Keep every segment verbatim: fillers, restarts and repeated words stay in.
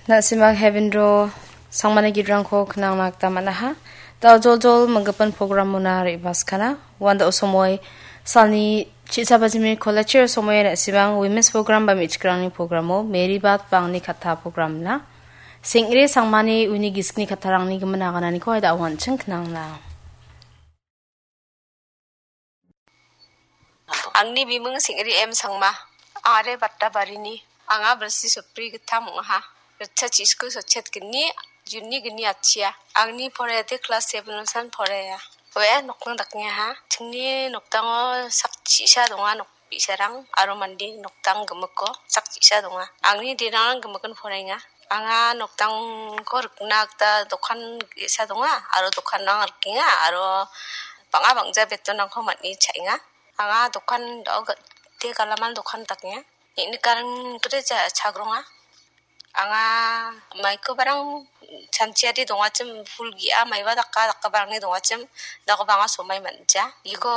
Na·simang Heaven Draw sangmani gidrangko knangna gita man·aha. Da·o joljol minggipa programona re·baskana. Uan da·o somoi salni chi·sa bajimi college-o somoi na·simang Women's Program ba me·chikrangni programo Mary Bad ba angni katta programna. Seng·re sangmani uni gisikni kattarangni gimin agananiko da·o an·ching knangna. Angni biming Seng·re M Sangma. Are batta barini. Anga bilsi sotbri gittam ong·aha. Ritchasa chi·sku sotchet gni, Juni gni achia. Angni poraiade klas seven-osan poraia. Oe nokning dakengaha. Chingni nokdango sak chi·sa donga, nok bi·sarang aro mande nokdang gimikko sak chi·sa donga. Angni derang gimikin poraenga. Anga nokdangko rikna gita dokan ge·sa donga aro dokanrang rikenga aro bang·a bang·ja betonrangko man·e cha·enga. Anga dokan do-, de galaman dokan dakenga. Neng·nikarang gita ja-, chagronga. Anga maikobarang chanchiari dongachim, pul ge·a maiba daka dakabarangni dongachim, dakoba anga somai man·ja. Iko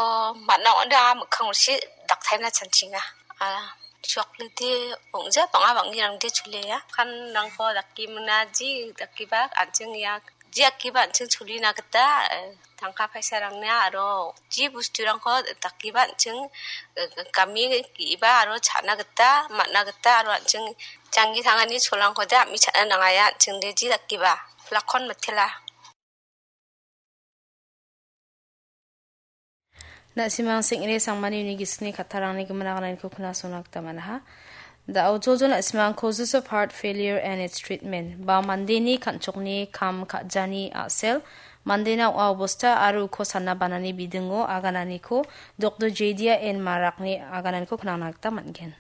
man·a ong·ode anga mikkang ulsi daktaina chanchinga. A, chocolate ong·ja bang·a bang·irangde cholia. Kanrangko dake mingna ji dakiba an·ching ia, ji dakiba an·ching cholina gita, eh, tangka paisarangna aro ji bosturangko dakiba an·ching, eh, game ge·iba aro cha·na gita, man·a gita aro an·ching janggi tangani cholangkode a·mi cha·na nangaia an·ching de ji dakiba. Lakon mitela. Na·simang Seng·re sangmani uni gisikni kattarangni gimin agananiko knasona gita man·aha. Da·o joljol na·simang Causes of Heart Failure and Its Treatment ba mandeni kan·chokni kam ka·jani a·sel, mandena ong·a obosta aro uko sana banani bidingo agananiko Doktor Jedia N Marakni agananiko knangna gita man·gen.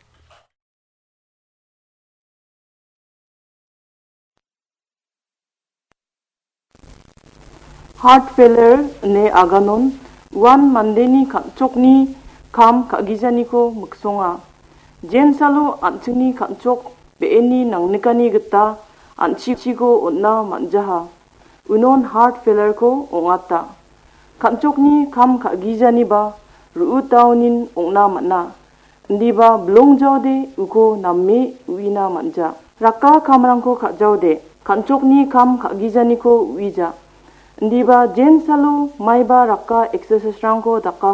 Heart failure ine aganon uan mandeni kan·chokni kam ka·gijaniko miksonga. Jensalo an·chingni kan·chok be·eni nangnikani gita an·chiko on·na man·jaha. Unon heart failureko ong·ata. Kan·chokni kam ka·gijaniba ru·utaonin ong·na man·a. Indiba bilongjaode uko name uina man·ja. Raka kamrangko ka·jaode, kan·chokni kam ka·gijaniko uija. Indiba jensalo maiba raka exercise-rangko daka